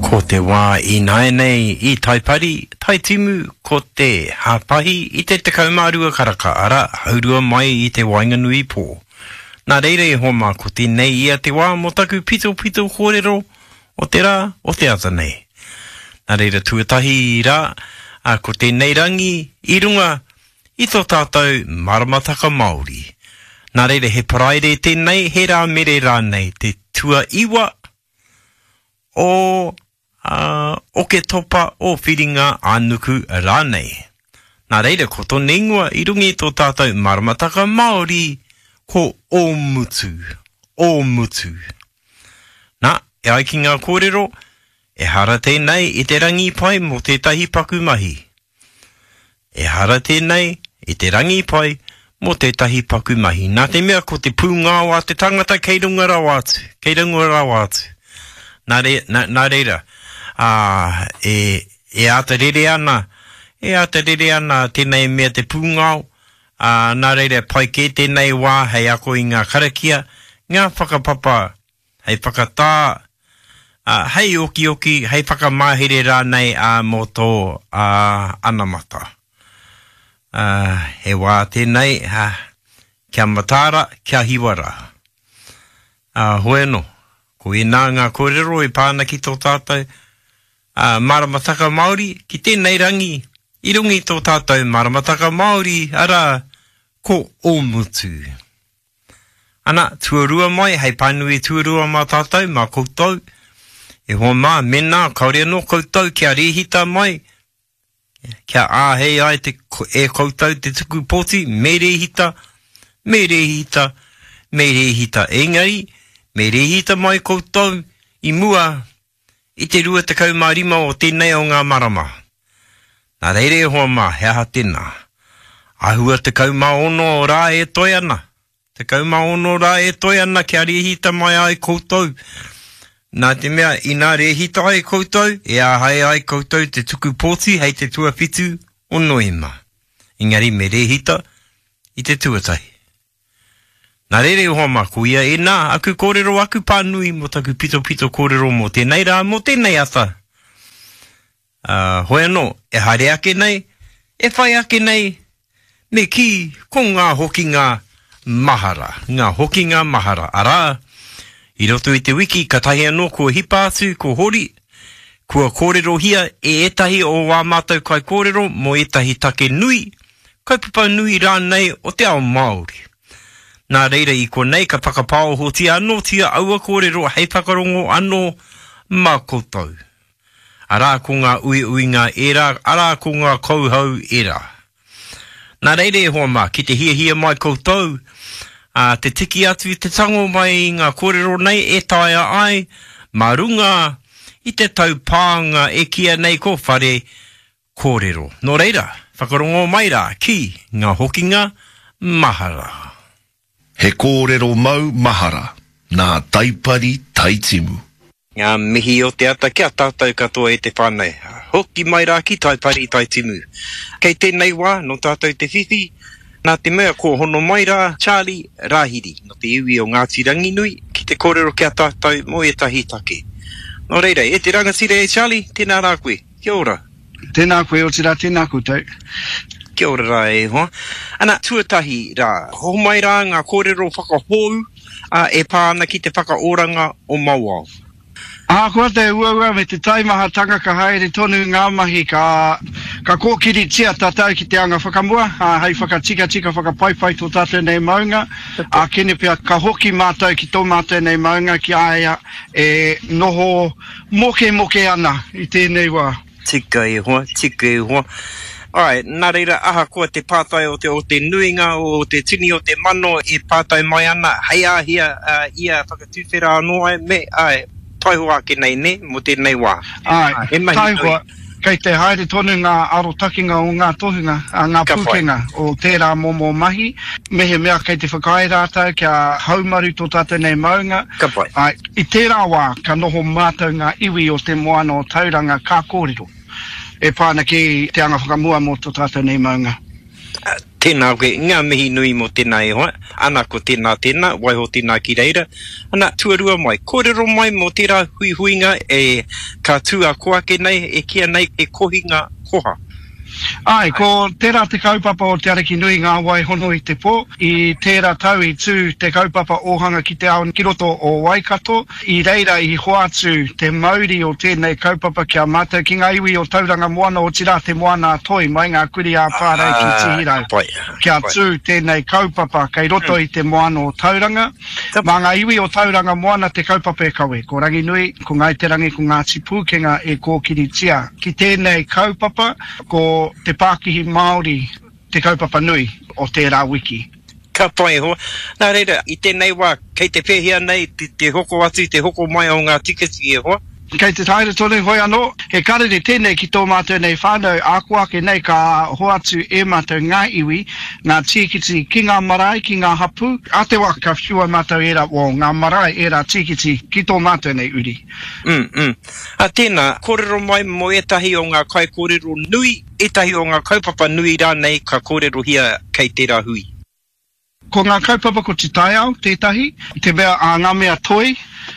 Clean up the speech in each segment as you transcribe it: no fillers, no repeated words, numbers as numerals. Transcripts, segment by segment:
Ko te wā ināianei i Taipari, Taitimu, ko te hāpahi i te 12 karaka, arā, haurua mai i te waenganui pō. Nā reira e hoa mā, ko tēnei ia te wā mō taku pitopito kōrero o te rā, o te ata nei. Nā reira tuatahi rā, ā, ko tēnei rangi i runga i tō tātou maramataka Māori. Nā reira he Paraire tēnei, he Rāmere rānei, te tuaiwa o Oketopa, o Whiringa ā-nuku rānei. Nā reira ko tōna ingoa i runga i tō tātou maramataka Māori ko Ōmutu, Ōmutu. Nā, e ai ki ngā kōrero, ehara tēnei i te rangi pai mō tētahi paku mahi. Ehara tēnei i te rangi pai mō tētahi paku mahi, nā te mea ko te pūngao a te tangata kei runga rawa atu, kei runga rawa atu. Nā, re, nā, nā reira, ā, e, e āta rere ana, e āta rere ana tēnei mea te pūngao, ā, nā reira pai kē tēnei wā hei ako i ngā karakia, ngā whakapapa hei whakatā, ā, hei okioki, hei whakamahere rānei, ā, mō tō, ā, anamata. Ā, he wā tēnei, ā, kia mataara, kia hiwa rā. Ā, hoi anō, ko ēnā ngā kōrero e pā ana ki tō tātou, ā, maramataka Māori, ki tēnei rangi, i runga i tō tātou maramataka Māori, arā, ko Ōmutu. Ana, tuarua mai, hei pānui tuarua mā tātou, mā koutou. E hoa mā, mēnā, kāore anō koutou kia rēhita mai, kia āhei ai te, e koutou te tuku pōti, me rēhita, me rēhita, me rēhita. Engari, me rēhita mai koutou i mua i te 25 o tēnei o ngā marama. Nā reira e hoa mā, he aha tēnā? Āhua 16 rā e toe ana. 16 rā e toe ana kia rēhita mai ai koutou. Nā te mea, inā rēhita ai koutou, e āhei ai koutou te tuku pōti hei te tuawhitu o Noema. Engari me rēhita i te tuatahi. Nā reira e hoa mā, ko ia ēnā, aku kōrero, aku pānui mō taku pitopito kōrero mō tēnei rā, mō tēnei ata. Ā, hoi anō, e haere ake nei, e whai ake nei, me kī, ko ngā hokinga mahara, ngā hokinga mahara, arā, i roto i te wiki katahi anō kua hipa atu ko Hori, kua kōrerohia e ētahi o ā mātou kaikōrero mō ētahi take nui, kaupapa nui rānei o te ao Māori. Nā reira i konei ka whakapāohotia anōtia aua kōrero hei whakarongo anō mā koutou. Arā ko ngā uiuinga ērā, arā ko ngā kauhau ērā. Nā reira e hoa mā, ki te hiahia mai koutou, ā, te tiki atu, te tango mai i ngā kōrero nei e taea ai mā runga i te taupānga e kīia nei ko Whare Kōrero. Nō reira, whakarongo mai rā ki ngā hokinga mahara. He kōrero mau mahara nā Taipari Taitimu. Ngā mihi o te ata ki a tātou katoa e te whānau. Hoki mai rā ki Taipari Taitimu. Kei tēnei wā, nō tātou te whiwhi, nā te mea kua hono mai rā Charlie Rāhiri, nō te iwi o Ngāti Ranginui, ki te kōrero ki a tātou mō ētahi take. Nō reira, e te rangatira e Charlie, tēnā rā koe. Kia ora. Tēnā koe, otirā tēnā koutou. Kia ora rā e hoa. Ana, tuatahi rā, homai rā ngā kōrero whakahou e pā ana ki te whakaoranga o Mauao. Ahakoa te uaua me te taimahatanga ka haere tonu ngā mahi ka ka kōkiritia tātou ki te anga whakamua, ā, hei whakatikatika, whakapaipai tō tātou nei maunga, ākene pea ka hoki mātou ki tō mātou nei maunga ki a ia e noho Mokemoke ana i tēnei wā. Tika e hoa, tika e hoa. Āe, nā reira, ahakoa te pātai o te, o te nuinga, o te tini o te mano e pātai mai ana, hei āhea ia whakatuwhera anō ai, me, āe, taihoa ake nei, nē, mō tēnei wā. Āe, He mahi nui. taihoa, kei te haere tonu ngā arotakenga o ngā tohunga, ngā Ka whai. pūkenga o tērā momo mahi, mehemea kei te whakaae rātou kia haumaru tō tātou nei maunga, Ka pai. āe, I tērā wā ka noho mātou ngā iwi o te moana o Tauranga ka kōrero e pā ana ki te anga whakamua mō tō tātou nei maunga. Tēnā koe, ngā mihi nui mō tēnā e hoa. Ana ko tēnā tēnā, waiho tēnā ki reira. Ana, tuarua mai, kōrero mai mō tērā huihuinga e ka tū a ko ake nei, e kīa nei he kohinga koha. Āe, ko tērā te kaupapa o Te Arikinui Ngā Wai Hono i te Pō. I tērā tau i tū te kaupapa ōhanga ki te ao ki roto o Waikato. I reira i hoatu te mauri o tēnei kaupapa ki a mātou, ki ngā iwi o Tauranga Moana, otirā Te Moana-a-Toi, mai ngā kurī ā-Pārei ki Tihirau. Kia tū tēnei kaupapa kei roto i te moana o Tauranga. Mā ngā iwi o Tauranga Moana te kaupapa e kawe. Ko Ranginui, ko Ngāi Te Rangi, ko Ngāti Pūkenga e kōkiritia. Ki tēnei kaupapa, ko te pākihi Māori te kaupapa nui o tērā wiki. Ka pai e hoa. Nā reira, i tēnei wā, kei te pēhea nei te hoko atu, te hoko mai o ngā tiketi e hoa? Kei te haere tonu, hoi anō, he karere tēnei ki tō mātou nei whānau, āko ake nei ka hoatu e mātou ngā iwi, ngā tīkiti ki ngā marae, ki ngā hapū. Ā te wā ka whiua mātou ērā, well, ngā marae ērā tīkiti ki tō mātou nei uri. Mm, mm. Ā, tēnā, kōrero mai mō ētahi o ngā kaikōrero nui, ētahi o ngā kaupapa nui rānei ka kōrerohia kei tērā hui. Ko ngā kaupapa ko te taiao tētahi, te mea a ngā mea toi,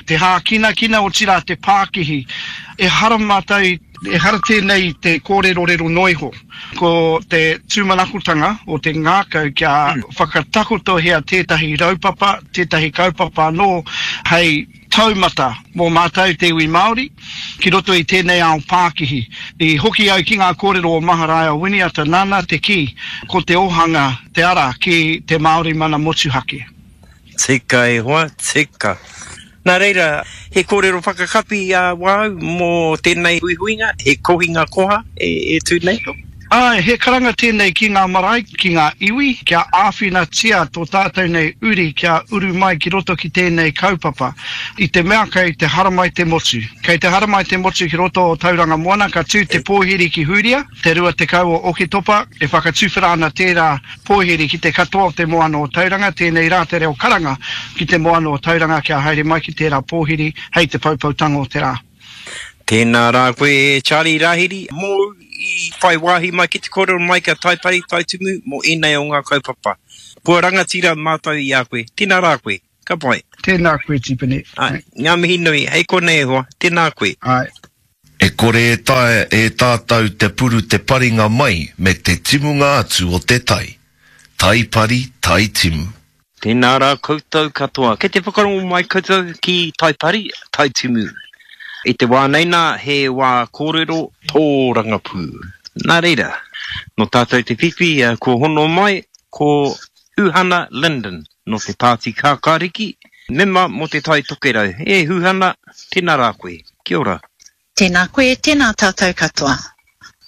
te hākinakina, otirā te pākihi. Ehara mātou, ehara tēnei i te kōrerorero noa iho. Ko te tūmanakotanga o te ngākau kia whakatakotohia tētahi raupapa, tētahi kaupapa anō hei taumata mō mātou te iwi Māori ki roto i tēnei ao pākihi. I hoki au ki ngā kōrero o Maharaia Winiata nāna te kī, ko te ohanga te ara ki te Māori mana motuhake. Tika e hoa, tika. Nā reira, he kōrero whakakapi a wāu mō tēnei huihuinga, he kohinga koha e tū nei? Āe, he karanga tēnei ki ngā marae, ki ngā iwi, kia āwhinatia tō tātou nei uri kia uru mai ki roto ki tēnei kaupapa. I te mea kei te haramai te motu. Kei te haramai te motu ki roto o Tauranga Moana, ka tū te pōhiri ki Hūria, te 20 o Oketopa, e whakatuwhera ana tērā pōhiri ki te katoa o te moana o Tauranga, tēnei rā te reo karanga ki te moana o Tauranga kia haere mai ki tērā pōhiri hei te poupoutanga o te rā. Tēnā rā koe e Charlie Rahiri, mōu i whai wāhi mai ki te kōrero mai ki a Taipari Taitumu mō ēnei o ngā kaupapa. Kua rangatira mātou i a koe. Tēnā rā koe. Ka pai. Tēnā koe Tipene. Āe, ngā mihi nui. Hei konei e hoa. Tēnā koe. Āe. E kore e taea e tātou te puru te paringa mai me te timunga atu o te tai. Tai pari, tai timu. Tēnā rā koutou katoa. Kei te whakarongo mai koutou ki Taipari, Taitimu. I te wā nei nā, he wā kōrero tōrangapū. Nā reira, nō tātou te whiwhi kua hono mai ko Huhana Lyndon nō te Pāti Kākāriki, mema mō Te Tai Tokerau. E Huhana, tēnā rā koe. Kia ora. Tēnā koe, tēnā tātou katoa.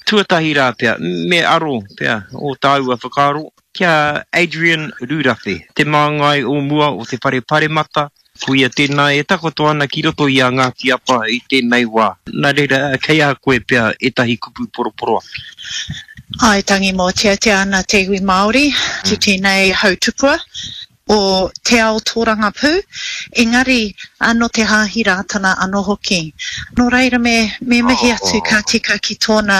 Tuatahi rā pea, me aro pea ō tāua whakaaro ki a Adrian Rurawhe, te māngai o mua o te Whare Paremata, ko ia tēnā e takoto ana ki roto i a Ngāti Apa i tēnei wā. Nā reira, kei a koe pea ētahi kupu poroporoaki. Āe, tangi mōteatea ana te iwi Māori ki tēnei hautupua. o te ao tōrangapū, engari nō te Hāhi Rātana anō hoki. Nō reira me, me mihi atu ka tika ki tōna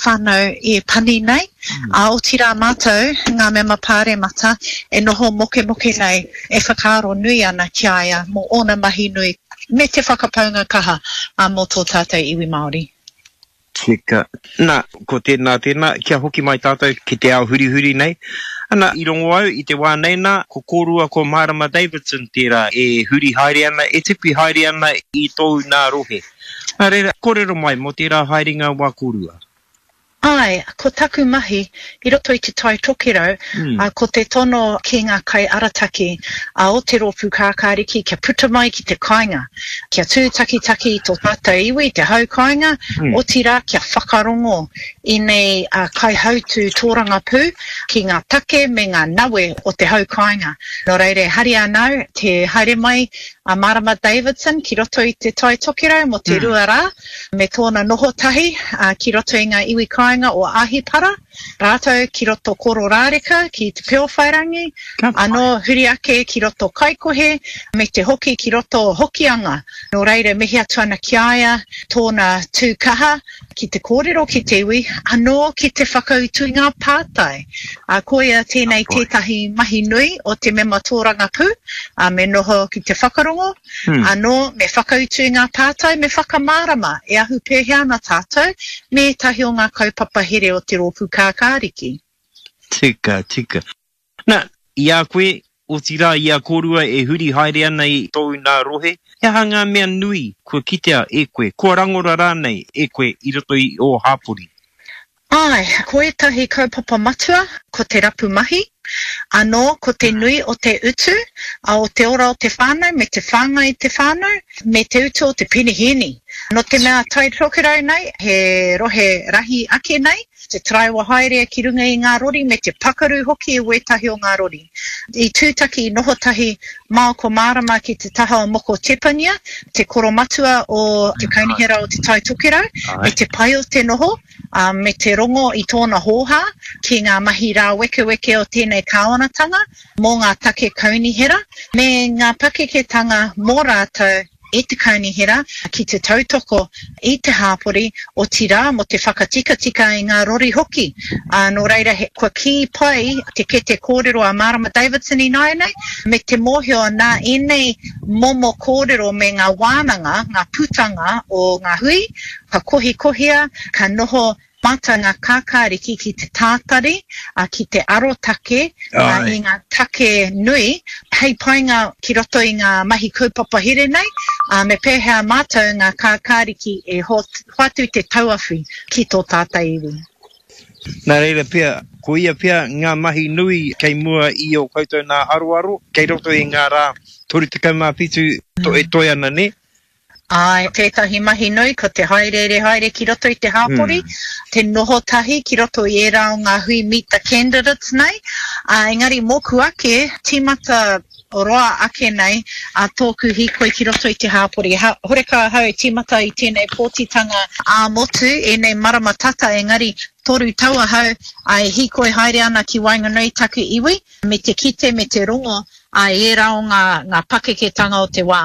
whānau e pani nei, ā, otirā mātou, ngā mema pāremata, e noho mokemoke nei, e whakaaro nui ana ki a ia mō ōna mahi nui me te whakapaunga kaha mō tō tātou iwi Māori. Tika. Na, ko tēnā, tēnā, kia hoki mai tātou ki te ao hurihuri nei. Ana, i rongo au i te wā nei nā, ko kōrua ko Marama Davidson tērā e huri haere ana, e tipi haere ana i tōu nā rohe. Nā reira, kōrero mai mō tērā haerenga wā kōrua. Āe, ko taku mahi i roto i Te Tai Tokerau, ko te tono ki ngā kaiarataki o te Rōpū Kākāriki kia puta mai ki te kāinga, kia tūtakitaki i tō tātou iwi, te hau kāinga, otirā kia whakarongo i nei kaihautū tōrangapū ki ngā take me ngā nawe o te hau kāinga. Nō reira e hari ana au te haere mai. a Marama Davidson ki roto i Te Tai Tokerau mō te rua rā, me tōna noho tahi ki roto i ngā iwi kāinga o Ahipara, rātou ki roto Kororāreka, ki Te Peowhairangi, anō huri ake ki roto Kaikohe, me te hoki ki roto Hokianga. Nō reira, mihi atu ana ki a ia tōna tū kaha ki te kōrero ki te iwi, anō ki te whakautu i ngā pātai. Ā, koia tēnei tētahi mahi nui o te mema tōrangapū, ā, me noho ki te whakarongo, anō me whakautu i ngā pātai, me whakamārama e ahu pēhea ana tātou me ētahi o ngā kaupapa here o te Rōpū Kākāriki. Tika, tika. Na, i a koe, otirā i a kōrua e huri haere ana i tōu nā rohe, he aha ngā mea nui kua kitea e koe, kua rangona rānei e koe i roto i ō hāpori? Āe, ko ētahi kaupapa matua, ko te rapu mahi, anō ko te nui o te utu, o te ora o te whānau me te whāngai i te whānau, me te utu o te penihēni. Nō te mea Tai Tokerau nei, he rohe rahi ake nei, Te taraiwa haere ki runga i ngā rori me te pakaru hoki o wētahi o ngā rori. I tūtaki, i noho tahi Mao ko Mārama ki te taha o Moko Tepania, te koromatua o te Kaunihera o Te Tai Tokerau, me te pai o te noho, me te rongo i tōna hōhā ki ngā mahi rāwekeweke o tēnei kāwanatanga mō ngā take kaunihera me ngā pakeketanga mō rātou e te kaunihera ki te tautoko i te hāpori, otirā mō te whakatikatika i ngā rori hoki. Ā, nō reira, he, kua kī pai te kete kōrero a Marama Davidson ināianei, me te mōhio nā ēnei momo kōrero me ngā wānanga, ngā putanga o ngā hui, ka kohikohia, ka noho Mātou ngā kākāriki ki te tātari, ki te arotake i ngā take nui hei painga ki roto i ngā mahi kaupapa here nei, ā, me pēhea mātou ngā kākāriki e hoatu te tauawhi ki tō tātou iwi. Nā reira pea, ko ia pea ngā mahi nui kei mua i ō koutou nā aroaro, kei roto i ngā rā 37 e toe ana, nē? Āe, tētahi mahi nui ko te hāereere haere ki roto i te hāpori, te noho tahi ki roto i ērā o ngā hui Meet the Candidates nei. Ā, engari mōku ake, tīmata roa ake nei a tōku hīkoi ki roto i te hāpori. Ha, horekau ahau e tīmata i tēnei pōtitanga ā-motu, ēnei marama tata, engari toru tau ahau, ā, e hīkoi haere ana ki waenganui i taku iwi, me te kite, me te rongo, ā, i ērā o ngā, ngā pakeketanga o te wā.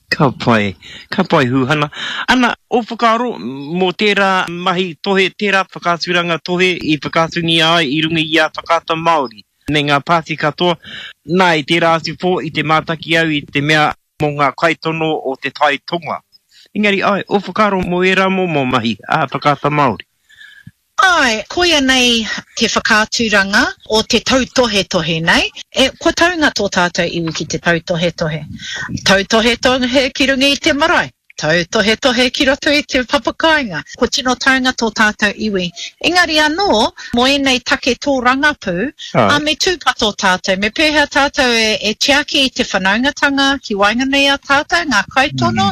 Ka pai, ka pai Huhana. Ana, ō whakaaro mō tērā mahi tohe, tērā whakaaturanga tohe i whakaatungia ai i runga i a Whakaata Māori me ngā pāti katoa. Nā, i tērā atu pō i te mātaki au i te mea mō ngā kaitono o Te Tai Tonga. Engari, āe, ō whakaaro mō ērā momo mahi a Whakaata Māori. Āe, koia nei te whakaaturanga o te tautohetohe nei. E, kua taunga tō tātou iwi ki te tautohetohe. Tautohetohe ki runga i te marae, tautohetohe ki roto i te papakāinga. Kua tino taunga tō tātou iwi. Engari anō, mō ēnei take tōrangapū, ā, me tūpato tātou. Me pēhea tātou e, e tiaki i te whanaungatanga ki waenganui i a tātou, ngā kaitono,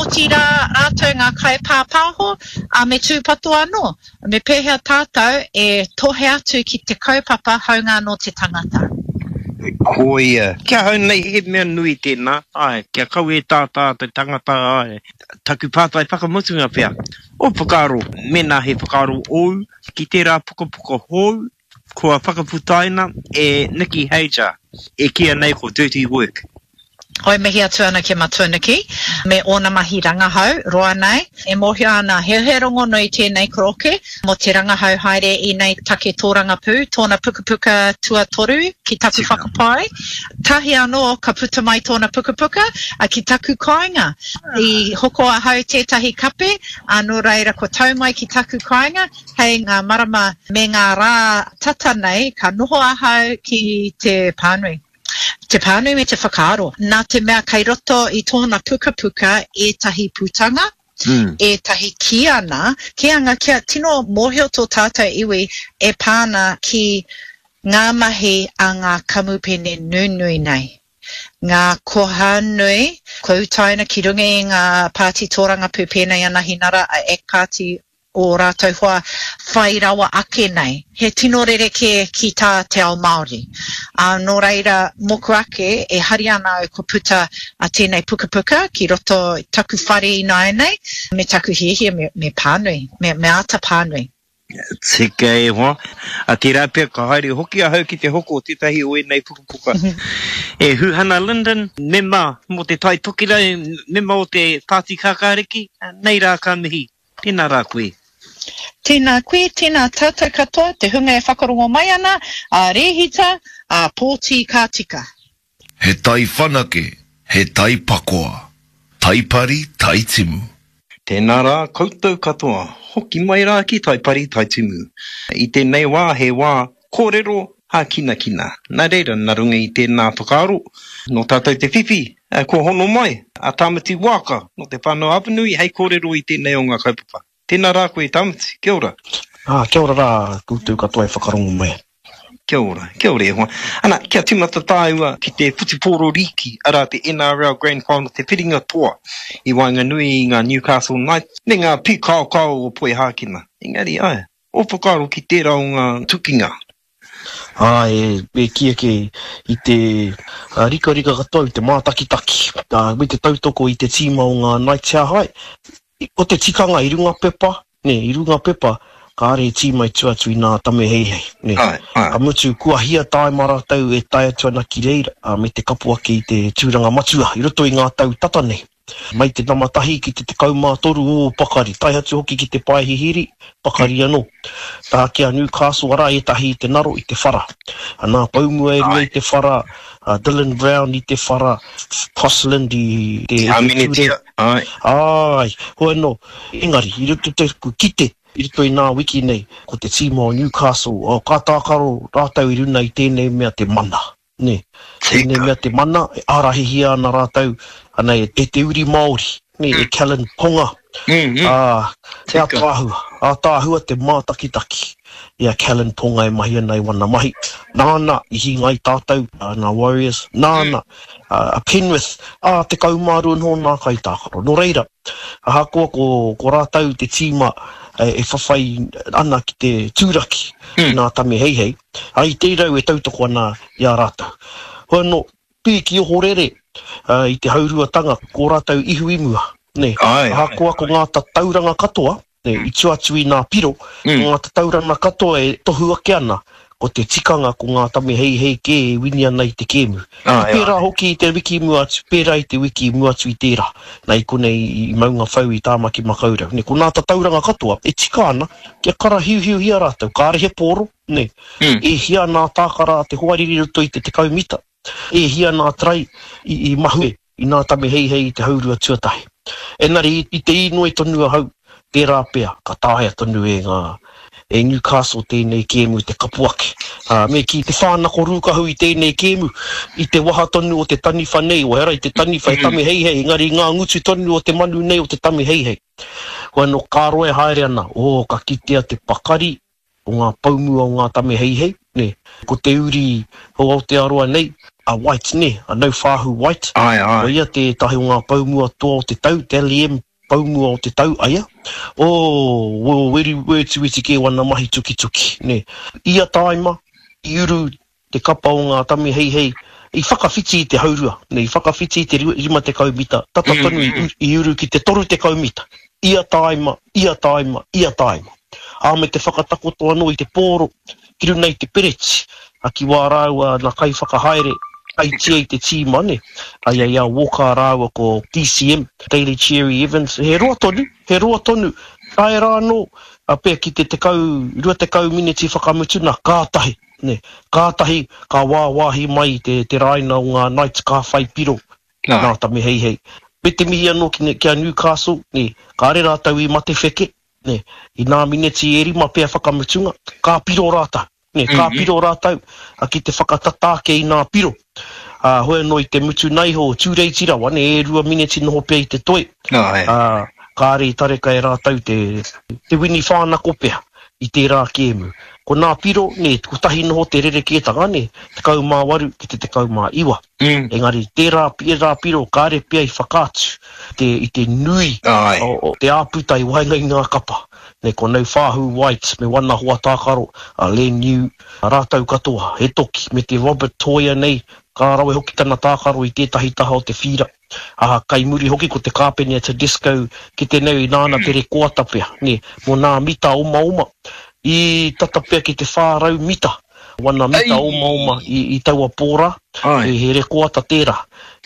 otirā rātou ngā kaipāpāho, Ā, me tūpato anō, me pēhea tātou e tohe atu ki te kaupapa hāunga anō te tangata. Koia. Ki ahau nei he mea nui tēnā, āe, kia kaua e tātā te tangata, āe. Taku pātai whakamutunga pea, ō whakaaro, mēnā he whakaaro ōu ki tērā pukapuka hou Kua whakaputaina e Nikki Hajar, e kīia nei ko Dirty Work. Hoi mihi atu ana ki a Matua Nikki me ōna mahi rangahau roa nei. E mōhio ana he he rongonui tēnei koroke mō te rangahau haere i nei take tōrangapū, tōna pukapuka tuatoru ki taku whakapae. Tahi anō ka puta mai tōna pukapuka ki taku kāinga. I hoko ahau tētahi kape, ā, nō reira kua tau mai ki taku kāinga. Hei ngā marama me ngā rā tata nei ka noho ahau ki te pānui. Te pānui me te whakaaro. Nā te mea kei roto i tōna pukapuka ētahi putanga, ētahi kīanga, kīanga kia tino mōhio tō tātou iwi e pā ana ki ngā mahi a ngā kamupene nunui nei. Ngā koha nui kua utaina ki runga i ngā pāti tōrangapū pēnei a Nahinara, a act Party. ō rātou hoa whai rawa ake nei. He tino rerekē ki tā te ao Māori. Ā, nō reira, mōku ake, e hari ana au kua puta a tēnei pukapuka ki roto i taku whare ināianei, me taku hiahia me, me pānui, me, me āta pānui. Tika e hoa. A tērā pea ka haere hoki ahau ki te hoko tētahi o ēnei pukapuka. E Huhana Lyndon, mema mō Te Tai Tokerau, mema o te Pāti Kākāriki, nei rā ka mihi. Tēnā rā koe. Tēnā koe, tēnā tātou katoa, te hunga e whakarongo mai ana, ā rēhita, ā pōti ka tika. He tai whanake, he tai pakoa. Tai pari, tai timu. Tēnā rā koutou katoa, hoki mai rā ki Taipari Taitimu. I tēnei wā he wā kōrero hākinakina. Nā reira, nā runga i tēnā whakaaro, nō tātou te whiwhi, kua hono mai a Tāmati Waaka nō Te Whānau-a-Apanui hei kōrero i tēnei o ngā kaupapa. Tēnā rā koe Tāmati, kia ora. Ā, kia ora rā koutou katoa e whakarongo mai. Kia ora, kia ora e hoa. Ana, kia tīmata tāua ki te whutupōro rīki, arā te NRL Grand Final, te whiringa toa i waenganui i ngā Newcastle Knights me ngā pīkaokao o Poihākena. Engari, āe, ō whakaaro ki tērā o ngā tukinga? Āe, e kī ake i te rikarika katoa i te mātakitaki, me te tautoko i te tīma o ngā Knights he aha ai. Ko te tikanga i runga pepa, nē, i runga pepa, kāre he tīma i tua atu i nā Tame Heihei, nē. Ka mutu, kua hia tāima rātou e tae atu ana ki reira, me te kapo ake i te tūranga matua i roto i ngā tau tata nei. Mai te nama tahi ki te 13 ō pakari, tae atu hoki ki te pae hihiri, pakari anō. Tā ki a Newcastle, arā ētahi i te naro, i te whara. Nā Poumua e rua i te whara, Dylan Brown i te whara, Crossland i te ture. Āe. Āe, hoi anō, engari, i roto i taku kite, i roto i nā wiki nei, ko te tīma o Newcastle, oh, ka tākaro rātou i runa i tēnei mea te mana, nē. Tēnei mea te mana, e ārahihia ana rātou, ana, e te uri Māori, nē, e Kalyn Ponga. Ā, he ātaahua, ātaahua te mātakitaki i a Kalyn Ponga e mahi ana i wana mahi. Nāna i hinga ai tātou, nā Warriors, nāna a Penrith, ā, 12 noho nā kaitākaro. Nō reira, ahakoa ko, ko rātou te tīma e whawhai ana ki te tūraki i nā Tame Heihei, ā, i te rau e tautoko ana i a rātou. Hoi anō, pīki ohorere i te hauruatanga, ko rātou ihu i mua, nē. Ahakoa ko ngā tatauranga katoa, nē, i tua atu i nā piro, ko ngā tatauranga katoa e tohu ake ana, ko te tikanga ko ngā tame heihei kē e wini ana i te kēmu. I pērā hoki i te wiki i mua atu, pērā i te wiki i mua atu i tērā, nā i konei i Maungawhau i Tāmaki Makaurau. Nē, ko ngā tatauranga katoa e tika ana kia karahiuhiuhia rātou, kāre he pōro, nē. E hia nā tākara a te hoariri i roto i te 10 mita, E hia nā tarai i mahue i nā tame heihei i te haurua tuatahi. Engari i te īnoi tonu ahau, tērā pea ka taea tonu e ngā, e Newcastle tēnei kēmu te kapo ake. Ā, me kī te whānako rūkahu i tēnei kēmu, i te waha tonu o te taniwha nei, ehara i te taniwha e tame heihei, engari i ngā ngutu tonu o te manu nei o te tame heihei. Hoi anō, ka roa e haere ana, ō, ka kitea te pakari o ngā poumua o ngā tame heihei, nē. Ko te uri o Aotearoa nei, a White, nē, a Nauwhaahu White. Āe, āe. Ko ia tētahi o ngā poumua toa o te tau, Dally M poumua o te tau, aia. Ō, o, weri, wetiweti kē wana mahi tukituki, nē. Ia tāima, i uru te kapa o ngā tame heihei i whakawhiti i te haurua, i whakawhiti i te 50 mita, tata tonu i uru ki te 30 mita, ia tāima, ia tāima, ia tāima. Ā, me te whakatakoto anō i te pōro ki runga i te pereti, ā, ki wā rāua nā kaiwhakahaere, kaitia i te tīma, nē, ai i a Walker rāua ko DCM, Daly Cherry Evans, he roa tonu, he roa tonu, tae rā anō, pea ki te 10, 20 mineti whakamutuna, kātahi. Nē. Kātahi ka wāwāhi mai te, te rāina o ngā Knights ka whai piro nā Tame Heihei. Me te mihi anō ki, ki a Newcastle, nē, kāre rātou i mate wheke, nē, i nā mineti e rima pea whakamutunga, ka piro rātou, nē, ka piro rātou ki te whakatata ake i nā piro. Ā, hoi anō i te mutuna iho, tūreiti rawa, nē, e rua mineti noho pea i te toi, ā, kāre i tareka e rātou te, te wini whānako pea i tērā kēmu. Ko nā piro, nē, kotahi noho te rerekētanga, nē, 18 ki te 19. Mm. Engari, tērā, ērā piro kāre pea i whakaatu te, i te nui o, o te āputa i waenga i ngā kapa. Nē, ko Nauwhāhu White me wana hoa tākaro, a Len New, rātou katoa, he toki, me te Robert Toia nei, ka rawe hoki tana tākaro i tētahi taha o te whīra. Ā, kai muri hoki ko te kāpene a Tedesco ki te nei nāna te rekoata pea, nē, mō nā mita omaoma, i tata pea ki te 400 mita, wana mita omaoma i, i taua pō rā, he, he rekoata tērā.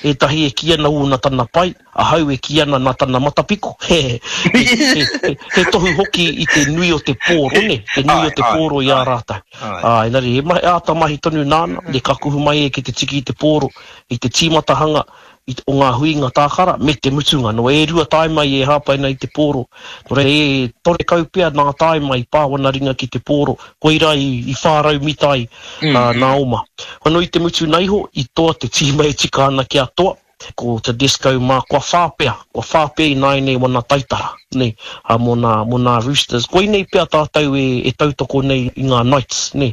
Ētahi e kī ana ū nā tana pai, ahau e kī ana nā tana matapiko, he, he, he, he, he tohu hoki i te nui o te pōro, nē, te nui o te pōro i a rātou. Ā, engari he mahi, āta mahi tonu nāna, nē, ka kuhu mai ia ki te tiki i te pōro, i te tīmatahanga i o ngā huinga tākara me te mutunga. Nō e rua taima i e hāpai ana i te pōro. Nō reira e torekau pea nā taima i pā wana ringa ki te pōro, koirā i, i 400 mita ai mm. nā oma. Anō i te mutuna iho, i toa te tīma e tika ana kia toa, ko Tedesco mā, kua whā pea, kua whā pea ināianei wana taitara, nē, ā, mō nā, mō nā Roosters. Koinei pea tātou e, e tautoko nei i ngā Knights, nē,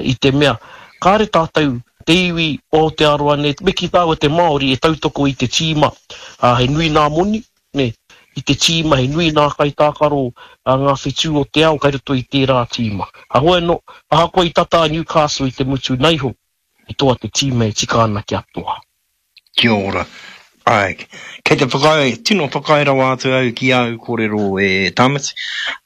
i te mea, kāre tātou te iwi o Aotearoa nei, me kī tāua te Māori e tautoko i te tīma, ā, he nui nā moni, nē, i te tīma, he nui nā kaitākaro a ngā whetū o te ao kai roto i tērā tīma. Heoi anō, ahakoa i tata a Newcastle i te mutu naiho, i toa te tīma e tika ana kia toa. Kia ora. Āe, kei te whakaae, tino whakaae rawa atu au ki āu kōrero e Tāmati.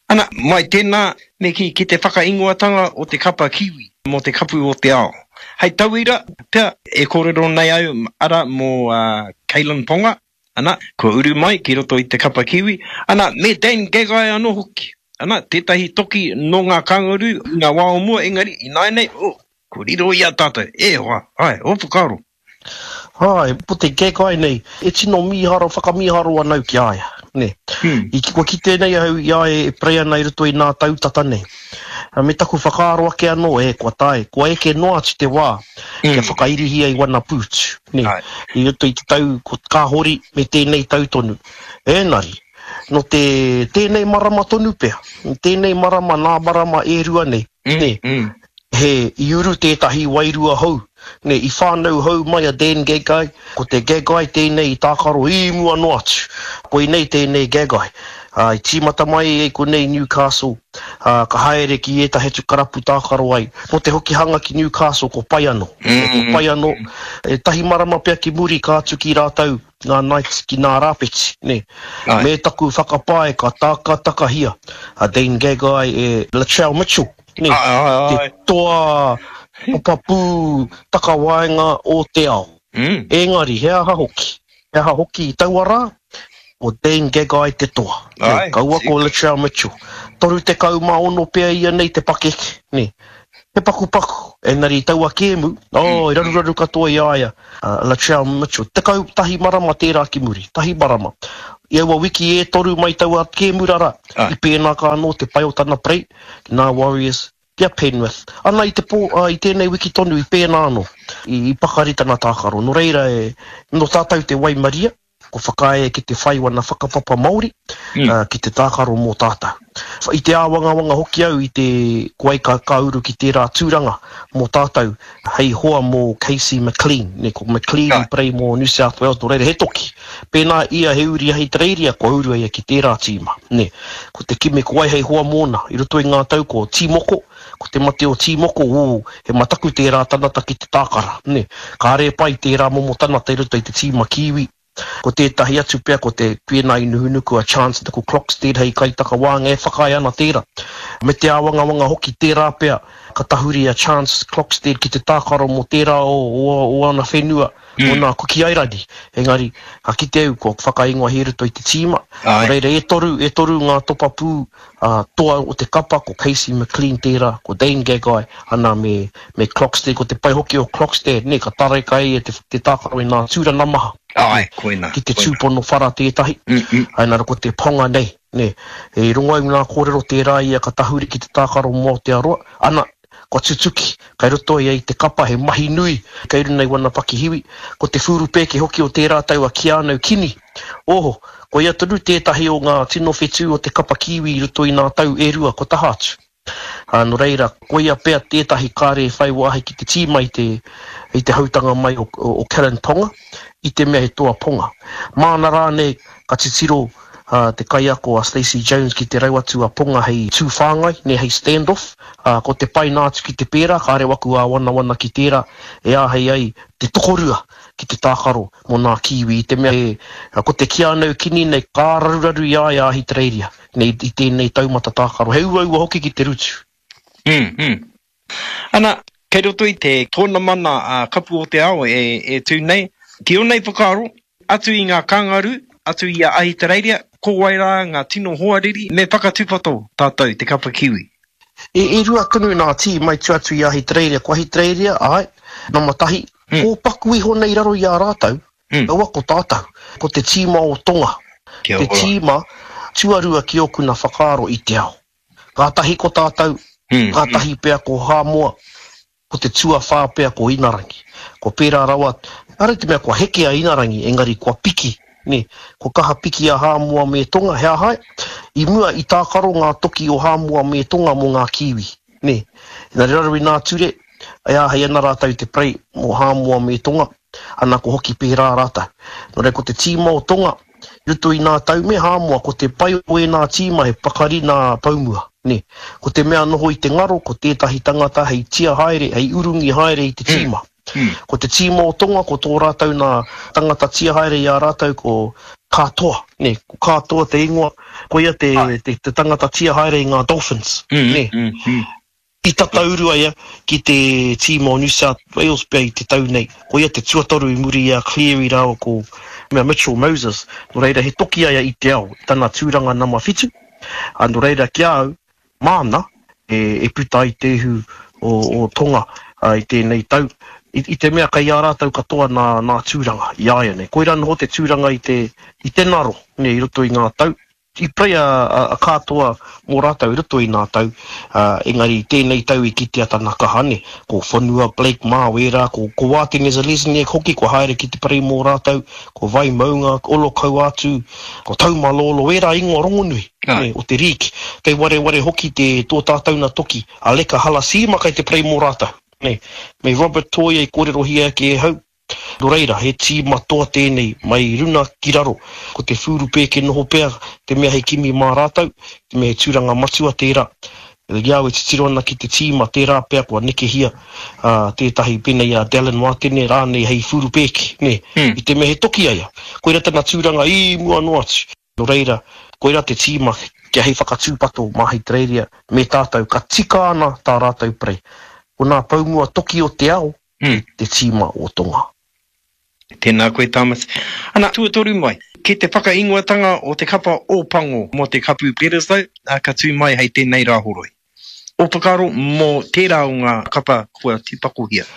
Ana, mai tēnā, me kī, ki te whakaingoatanga o te kapa Kiwi mō te kapu o te ao. Hei tauira, pea, e kōrero nei au, arā, mō Kalyn Ponga, ana, kua uru mai ki roto i te kapa Kiwi, ana, me Dan Gagai anō hoki, ana, tētahi toki nō ngā Kangaroo i ngā wā o mua, engari, ināianei, oh, kua riro i a tātou, e hoa, āe, ō whakaaro. Āe, ko te Gagai nei, e tino mīharo, whakamīharo ana au ki a ia, nē. I, kua kite nei ahau i a ia e pray ana i roto i nā tau tata nei. Me taku whakaaro ake anō, e, kua tae, kua eke noa atu te wā kia whakairihia i wana pūtu, nē, i roto i te tau ko, ka hori me tēnei tau tonu. Ēnari, nō te, tēnei marama tonu pea, tēnei marama, nā marama e rua nei, nē, He, i uru tētahi wairua hou, nē, i whānau hou mai a Dan Gagai, ko te Gagai tēnei i tākaro i mua noa atu. Koinei tēnei Gagai. Ā, i tīmata mai i konei Newcastle, ā, ka haere ki ētahi atu karapu tākaro ai. Mō te hokihanga ki Newcastle ko pai anō. Ko pai anō, e tahi marama pea ki muri ka atu ki rātou ngā Knights ki nā Rāpeti, nē. Me taku whakapae ka tākatakahia a Dane Gagai e Latrell Mitchell. Nē, te toa papapū takawaenga o te ao. Engari, he aha hoki? He aha hoki i taua rā? Ko Dane Gagai te toa. Nē, kaua ko Latrell Mitchell. 36 pea ia nei te pakeke, nē. He pakupaku, engari i taua kēmu, oh, i raruraru katoa i a ia, a Latrell Mitchell. 11 marama tērā ki muri, tahi marama. I aua wiki e toru mai taua kēmu rara, i pēnā ka anō te pai o tana parei, ki nā Warriors, ki a Penrith. Ana i te pō, ā, i tēnei wiki tonu i pēnā anō, i, i pakari tana tākaro. Nō reira, e, nō tātou te waimaria, ko whakaae ki te whai wana whakapapa Māori, ā, ki te tākaro mō tātou. I te āwangawanga hoki au i te, ko ai ka, ka uru ki tērā tūranga mō tātou hei hoa mō Casey McLean, nē, ko McLean i parei mō New South Wales, nō reira he toki. Pēnā ia he uri Ahitereiria, kua uru a ia ki tērā tīma, nē. Ko te kimi ko wai hei hoa mōna, i roto i ngā tau ko Tīmoko, ko te mate o Tīmoko, ū, he mataku tērā tanata ki te tākara, nē. Kāre e pai tērā momo tanata i roto i te tīma Kiwi. Ko tētahi atu pea ko te pēnā i Nuhunuku a Chance Nickel Clockstead hei kaitakawānga e whakaae ana tērā. Me te āwangawanga hoki tērā pea ka tahuri a Chance Clockstead ki te tākaro mō tērā o, o, o ana whenua, mm. o nā Kuki Airani. Engari, ka kite au kua whakaingoa i roto i te tīma. Nō reira, e toru, e toru ngā topapū a toa o te kapa, ko Casey McLean tērā, ko Dane Gagai, ana me, me Clockstead, ko te pai hoki o Clockstead, nē, ka tareka e ia te, te tākaro i nā tūrana maha. Āe, koina, Ki te tūpono whara tētahi. Mm, mm. Āe, nā, ko te ponga nei, nē, i rongo au i ngā kōrero tērā ia ka tahuri ki te tākaro mō Aotearoa, ana, Kua tutuki, kei roto ia i te kapa he mahi nui kei runa i wana pakihiwi, ko te whūrupēke hoki o tērā tau a Keanu Kini. Oho, ko ia tonu tētahi o ngā tino whetū o te kapa Kiwi i roto i nā tau e rua kua taha atu. Ā, nō reira, koia pea tētahi kāre e whai wāhi ki te tīma i te, i te hautanga mai o, o Kalyn Ponga, i te mea he toa Ponga. Māna rānei ka titiro ā, te kaiako a Stacey Jones ki te rau atu a Ponga hei tū whāngai, nē, hei stand off, ā, ko te paina atu ki te pērā, kāre waku āwanawana ki tērā e āhei ai te tokorua ki te tākaro mō nā Kiwi, i te mea e, ko te Keanu Kini nei ka raruraru i a ia a Ahitereiria. Nei i tēnei taumata tākaro. He uaua hoki ki te rutu. Mm, mm. Ana, kei roto i te tōnamana a Kapu o te Ao e, e tū nei, ki ō nei whakaaro, atu i ngā kāngarū, atu i a Ahitereiria, ko wai rā ngā tino hoariri me whakatūpato tātou te kapa Kiwi? E, e rua tonu nā tīma i tua atu i Ahitereiria. Ko Ahitereiria, āe, nama tahi, mm. kōpaku iho nei raro i a rātou, Mm. Kaua ko tātou. Ko te tīma o Tonga. Kia te tīma tuarua ki ōku na whakaaro i te ao. Kātahi ko tātou, mm. kātahi pea ko Hāmoa, ko te tuawhā pea ko Inarangi. Ko pērā rawa, ara te mea kua heke a Inarangi, engari kua piki, ne, kua kaha piki a Hāmoa me Tonga, he aha ai? I mua i tākaro ngā toki o Hāmoa me Tonga mō ngā Kiwi, ne. Engari raro i nā ture, e āhei ana rātou te parei mō Hāmoa me Tonga, Ana ko hoki pērā rātou. Nō reira ko te tīma o Tonga, i roto i nā tau me Hāmoa, ko te pai o ēnā tīma he pakari nā poumua, nē. Ko te mea noho i te ngaro, ko tētahi tangata hei tia haere, hei urungi haere i te tīma. Ko te tīma o Tonga, ko tō rātou nā tangata tia haere i a rātou ko Katoa, nē, ko Katoa te ingoa, koia te, te, te tangata tia haere i ngā Dolphins, nē. I tata uru a ia ki te tīma o New South Wales pea i te tau nei. Ko ia te tuatoru i muri i a Cleary rāua ko Mitchell Moses. Nō reira he toki a ia i te ao, i tana tūranga nama whitu. Ā, nō reira ki a au, māna e puta ai te ihu o Tonga i tēnei tau, i te mea kei a rātou katoa nā, nā tūranga i āianei. Koirā noho te tūranga i te, i te ngaro, nē, i roto i ngā tau. I pray a Katoa mō rātou i roto i nā tau, engari i tēnei tau i kitea tana kaha ne, ko Whanua Blake mā wērā, ko ko Wātene Zalezniak hoki kua haere ki te pray mō rātou, ko Vaimauga, Olokauātu, ko Taumalolo, wērā ingoa rongonui ne, o te rīki. Kei wareware hoki te tō tātou na toki, a Leka Halasima kei te pray mō rātou ne, me Robert Toia i kōrerohia ake e hau. Nō reira, he tīma toa tēnei, mai runa ki raro. Ko te whūru pēke noho pea te mea hei kimi mā rātou, te mea he tūranga matua tērā. I a au e titiro ana ki te tīma, tērā pea kua nekehia tētahi pēnei i a Dallin Wātene rānei hei whūru pēke, nē, i te mea he toki a ia. Koirā tana tūranga i mua noa atu. Nō reira, koirā te tīma kia hei whakatūpato mā Ahitereiria me tātou, ka tika ana tā rātou prei. Ko nā poumua toki o te ao, ki te tīma o Tonga. Tēnā koe Thomas. Ana, tuatoru mai, ki te whakaingoatanga o te kapa Ōpango mō te Kapu Bledisloe, ā, ka tū mai hei tēnei Rāhoroi. Ō whakaaro mō tērā o ngā kapa kua tīpakohia?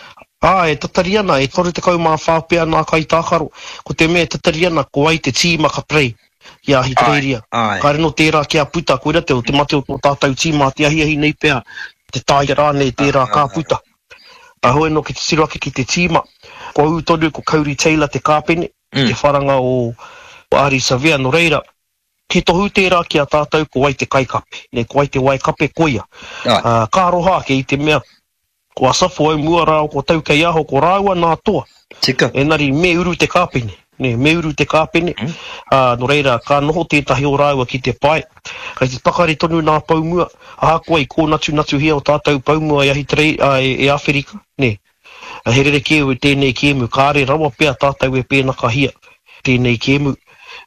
Ā, e tatari ana, e 34 pea nā kaitākaro. Ko te mea e tatari ana, ko wai te tīma ka play ki a Ahitereiria. Kāre nō tērā kia puta, koira te, te mate o tō tātou tīma te ahiahi nei pea, te taea rānei tērā ka puta. A hoi anō ki te tiro ake ki te tīma, kua ū tonu ko Codie Taylor te kāpene i te wharanga o Ardie Savea, nō reira, he tohu tērā ki a tātou ko wai te kaikape, nē, ko wai te waekape, koia. Ā, ka aroha ake i te mea, ko Asafo au mua rā, ko Taukeiaho, ko rāua nā toa. Tika. Engari me uru te kāpene, nē, me uru te kāpene, ā, nō reira, ka noho tētahi o rāua ki te pae. Kei te pakari tonu nā poumua, ahakoa i kōnatunatuhia o tātou poumua e Ahitarei, ā, e Āwherika, nē. He rerekē tēnei kēmu, kāre rawa pea tātou e pēnakahia tēnei kēmu.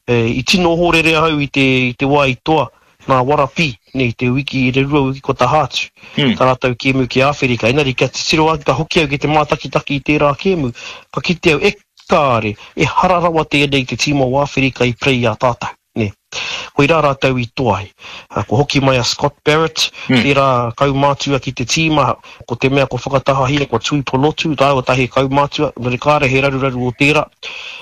I tino ohorere ahau i te, i te wā i toa nā Warapī, nē, i te wiki, i te rua wiki kua taha atu, tā rātou kēmu ki Āwherika. Engari kia titiro ake, ka hoki au ki te mātakitaki i tērā kēmu, ka kite au, e kāre, ehara rawa tēnei te tīma o Āwherika i prei i a tātou. Nē. Koirā rātou i toa ai. Kua hoki mai a Scott Barrett, tērā kaumātua ki te tīma, ko te mea kua whakatahahia, kua tui ponotu rāua tahi kaumātua, engari kāre he raruraru o tērā.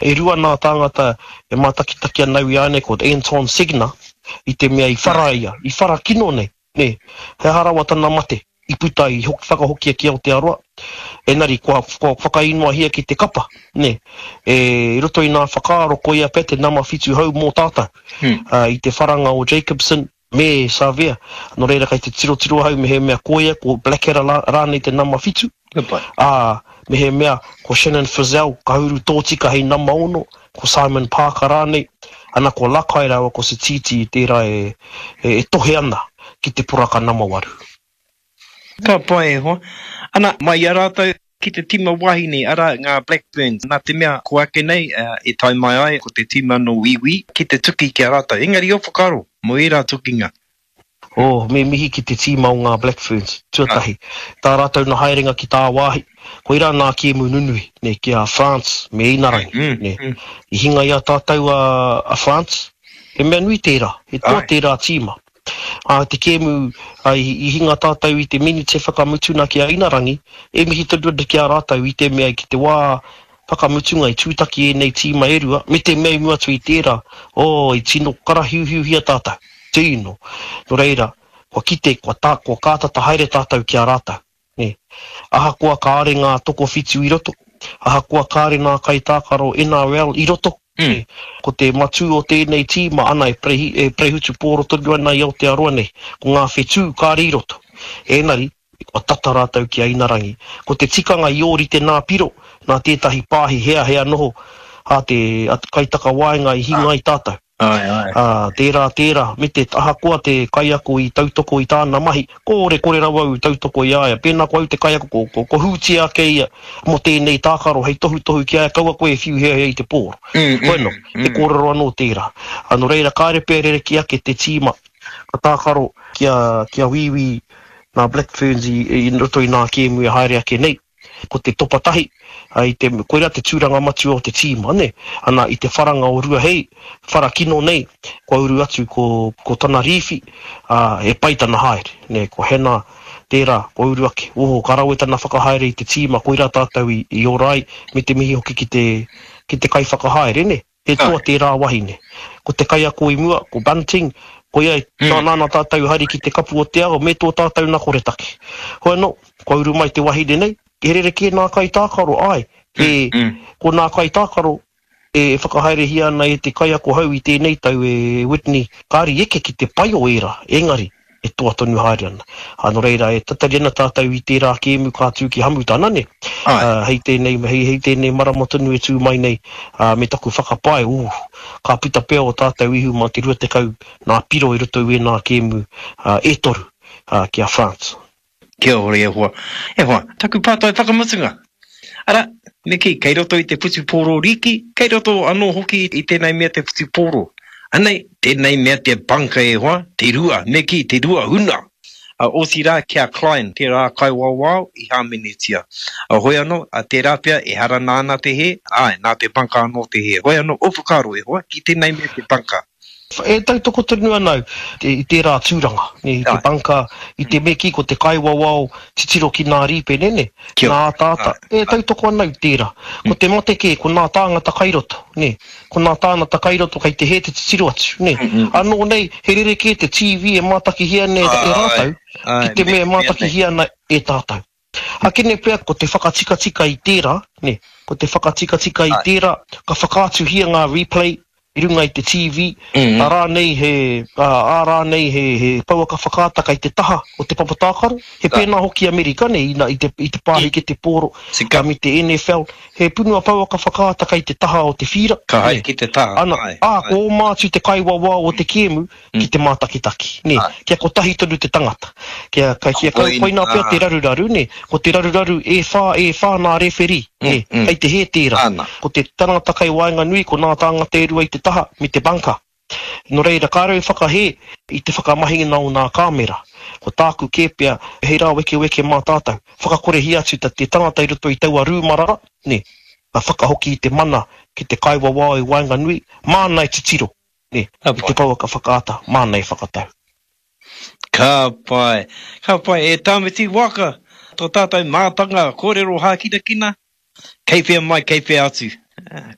E rua nā tāngata e mātakitaki ana au i ānei, ko Anton Segner, i te mea i whara ia, i whara kino nei. Nē, he aha rawa tana mate i puta i hoki whakahokia ki Aotearoa, engari kua, kua whakainoahia ki te kapa, nē. E, i roto i nā whakaaro koia pea te nama whitu hou mō tātou. Mm. Uh, I te wharanga o Jacobson, Me Savea, nō reira kei te tirotiro ahau mehemea ko ia, ko Blackadder rānei te nama whitu, ā, mehemea ko Shannon Frizzell ka uru tōtika hei nama ono, ko Simon Parker rānei, ana ko Lakai rāua ko Sititi tērā e tohe ana ki te poraka nama waru. Ka pai e hoa. Ana, mai i a rātou ki te tīma wāhine, arā, ngā Black Ferns, nā te mea ko ake nei e tae mai ai ko te tīma nō Wīwī ki te tuki ki a rātou. Engari ō whakaaro mō ērā tukinga? Oh, me mihi ki te tīma o ngā Black Ferns, tuatahi. Tā rātou na haerenga ki tāwāhi, koirā nā kēmu nunui, nē, ki a France me Inarangi, nē. I hinga i a tātou a France, he mea nui tērā, he toa tērā tīma. Ā, te kēmu, ā, i hinga tātou i te minite whakamutuna ki a Inarangi, e mihi tonu ana ki a rātou i te mea ki te wā whakamutunga i tūtaki ēnei tīma e rua, me te mea i mua atu i tērā, oh, i tino karahiuhiuhia tātou, tino. Nō reira, kua kite, kua tā, kua kātata haere tātou ki a rātou. Nē. Ahakoa kāore ngā tokowhitu i roto, ahakoa kāore ngā kaitākaro NRL i roto, nē, ko te matū o tēnei tīma, ana e prehi, e prehutu pōro tonu ana i Aotearoa nei, ko ngā whetū kāore i roto. Ēnari, kua tata rātou ki a Inarangi. Ko te tikanga i ōrite nā Piro, nā tētahi pāhi heahea noho a te, a te kaitakawaenga i hinga ai tātou. Āe, āe. Ā, tērā, tērā, me te, ahakoa te kaiako i tautoko i tāna mahi, kore, kore rawa au i tautoko i a ia. Pēnā ko au te kaiako, ko, ko, ko hūtia ake ia mō tēnei tākaro hei tohutohu ki a ia, kaua koe e whiu heahea i te pōro. Mm, mm, Bueno, he mm. kōrero anō tērā. Ā, nō reira, kāre pea rerekē ake te tīma ka tākaro ki a, ki a Wīwī nā Black Ferns i, i roto i nā kēmu e haere ake nei. Ko te topa tahi, i te, koirā te tūranga matua o te tīma, nē. Ana, i te wharanga o Ruahei, whara kino nei, kua uru atu ko, ko tana rīwhi, ā, he pai tana haere, nē, ko Hannah tērā, kua uru ake. Oho, ka rawe tana whakahaere i te tīma, koirā tātou i, i ora ai, me te mihi hoki ki te, ki te kaiwhakahaere, nē. He toa tērā wahine. Ko te kaiako i mua, ko Bunting, koia i mm. nāna tātou haere ki te kapu o te ao me tō tātou na koretake. Hoi anō, kua uru mai te wahine nei, he rerekē nā kaitākaro, āe, he, mm, mm. ko nā kaitākaro e whakahaerehia ana e te kaiako hou i tēnei tau e Whitney, kāri eke ki te pai o ērā, engari, e toa tonu haere ana. Ā, nō reira, e tatari ana tātou i tērā kēmu ka tū ki Hamutana, nē? Āe. Ā, hei tēnei, hei, hei tēnei marama tonu e tū mai nei, ā, me taku whakapae, ū, ka puta pea ō tātou ihu mā te 20 nā piro i roto i wēnā kēmu, ā, e toru, ā, ki a France. Kia ora e hoa. E hoa, taku pātai whakamutunga. Arā, me kī, kei roto i te whutupōro rīki, kei roto anō hoki i tēnei mea te whutupōro. Anei, tēnei mea te bunker e hoa, te rua, me kī, te rua huna. A, otirā ki a Klein, tērā kaiwawao i hāmenetia. A, hoi anō, a, tērā pea, ehara nāna te hē, āe, nā te bunker anō te hē. Hoi anō, ō whakaaro e hoa, ki tēnei mea te bunker. E tautoko tonu ana au i tērā tūranga, i te bunker, i te me kī ko te kaiwawao titiro ki nā rīpene, nē, nā ataata, e tautoko ana au tērā. Ko te mate kē, ko nā tāngata kai roto, nē, ko nā tāngata kai roto kei te hē te titiro atu, nē. Anō nei, he rerekē te TV e mātakihia ana e rātou ki te mea e mātakihia ana e tātou. Akene pea ko te whakatikatika i tērā, nē, ko te whakatikatika i tērā, ka whakaatuhia ngā replay i runga i te TV, ā rānei he, ā rānei he, he pouaka whakaata kei te taha o te papa tākaro. He pēnā hoki Amerika, nē, ina, i te, i te pāhekete pōro, ā, me te NFL, he punua pouaka whakaata kei te taha o te whīra, Ka haere nē. ki te taha, Ana, āe, ā, āe. ko oma atu te kaiwawao o te kēmu, ki te mātakitaki, nē, kia kotahi tonu te tangata. Kia, kia, kia kau, koinā pea te raruraru, nē, ko te raruraru e whā, e whā nā rewherī, nē, kei te hē tērā. Ko te tangata kei waenganui, ko nā tāngata e rua i te taha, me te bunker. Nō reira, kāre au i whakahē i te whakamahinga o nā kāmera. Ko tāku kē pea, hei rāwekeweke mā tātou. Whakakorehia atu te tangata i roto i taua rūma rā, nē, ka whakahoki i te mana ki te kaiwawao i waenganui, māna e titiro. Nē, i te pouaka whakaata, māna e whakatau. Ka pai, ka pai. E Tāmati Waka, tō tātou mātanga kōrero hākinakina, kei whea mai, kei whea atu.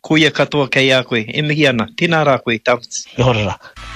Koia katoa kei a koe. E mihi ana. Tēnā rā koe, Tāmati. Kia ora rā.